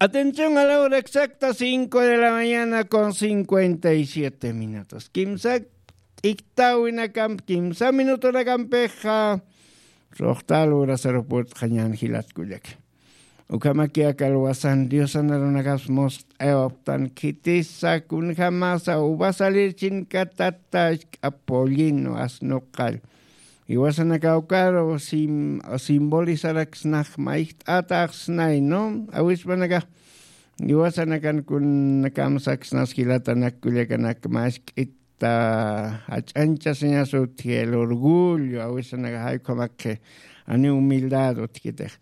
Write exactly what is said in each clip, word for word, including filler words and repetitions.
Atención a la hora exacta, cinco de la mañana con cincuenta y siete minutos. Kimsa t'iktäwinakamp kimsa minutunakampixa suxta lurasaru purt'xañän jilat kullaka. Ukhamaki aka luwasan diosan arunakaps must'aywapxtan khitisa kunjamasa uva salir chinkatata isk'a pollino asnuqall. Jiwasanakaw ukaru sim- simbolizaraksnax mayjt'ataxsnay no awispanakax. Jiwasanakan kun kamsaksnas jilatanak kullakanak mask'ita jach'anchasiñas utji el orgullo awisanakax jaykhamakkhi ani humildad utjkitix.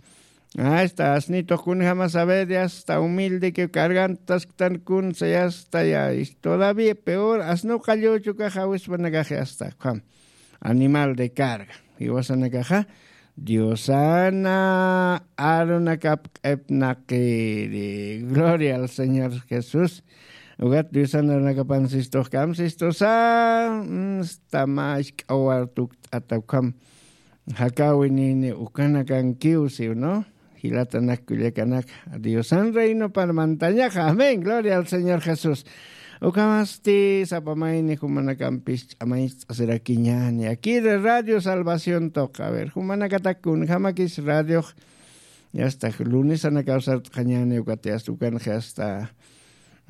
Asta asnitux kunjama saber yasta humildekiw cargantasktan kunsa yasta ya todavía peor asnuqalluchukax awispanakax yasta ukham animal de carga. Jiwasanakaxa diosana arunakap q'ipnaqiri gloria al señor jesús. Ukat diosana arunakapan sistux kam sistusa. Tama isk'awar tukt'ata ukham jakawinini ukanakankiw siw no. Jilatanak kullakanak diosan reino parmantañaxa amén gloria al señor jesús. Ukhamasti sapamayni jumanakampis ch'amañcht'asirakiñani akiri radio salvación toqa a ver jumanakatak kunjamakis radiox. Yasta lunesanakaw sart'xañani ukati asta ukanxi asta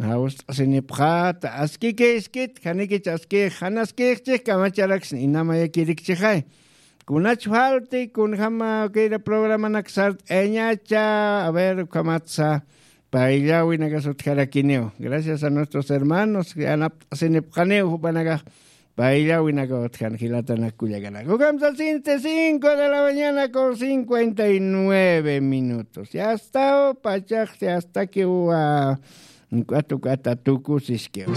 jawst'asinipxata askikïskit janikich askix janaskïxchix kamacharaksni inamayakirikchixay. Kunach falti kunjama kira programanak sart'ayañacha a ver ukhamatsa. Payllawinakas utjarakiniw gracias a nuestros hermanos yanapt'asinipxaniw jupanakax. Payllawinaka utjan jilatanak kullakanak ukamsa cincuenta y cinco de la mañana con cincuenta y nueve minutos yastaw pachax yastakiw. K'atu k'ata tukusiskiw.